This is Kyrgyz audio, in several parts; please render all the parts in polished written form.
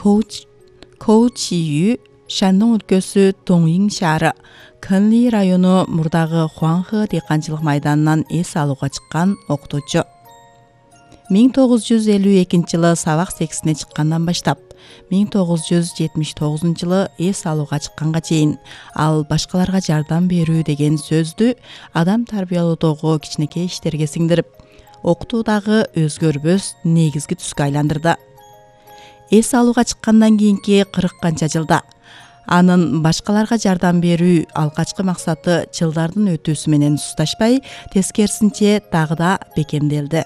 Коучию Шандун өлкөсү Тоңин шаары, Кэнли району мурдагы Хуанхэ дыйканчылык майданынан эс алууга чыккан окутуучу. 1952 жылы сабак сексине чыккандан баштап 1979 жылы эс алууга чыкканга чейин ал башкаларга жардам берүү деген сөздү адам тарбиялоодогу кичинекей иштерге сиңдирип, окутуудагы өзгөрбөс негизги түскө айландырды. Эс алууга чыккандан кийинки 40 канча жылда анын башкаларга жардам берүү алгачкы максаты жылдардын өтүүсү менен сусташпай, тескерисинче дагы да бекемделди.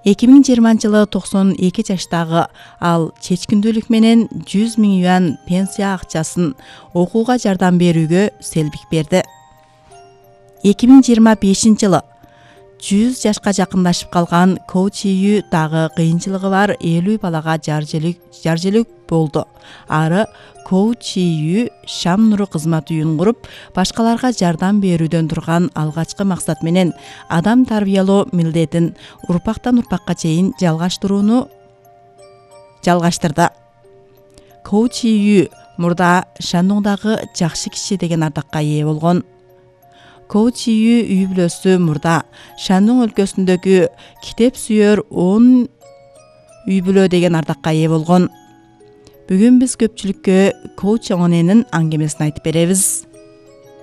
2020 жылы 92 жаштагы ал чечкиндүүлүк менен 100 000 юан пенсия акчасын окууга жардам берүүгө селбик берди. 2025 жылы 100 жашка жакындашып калган Коучию дагы кыйынчылыгы бар 50 балага жаржелик болду. Ары Коучию Шам нуру кызмат үйүн куруп, башкаларга жардам берүүдөн турган алгачкы максат менен адам тарбиялоо милдетин урпактан урпакка чейин жалгаштырды. Коучию мурда Шандуңдагы жакшы киши деген ардакка ээ болгон. Коучию үй бүлөсү мурда Шандун өлкөсүндөгү китеп сүйөр 10 үй бүлө деген ардакка ээ болгон. Бүгүн биз көпчүлүккө Коуч Оңоненин аңгемесин айтып беребиз.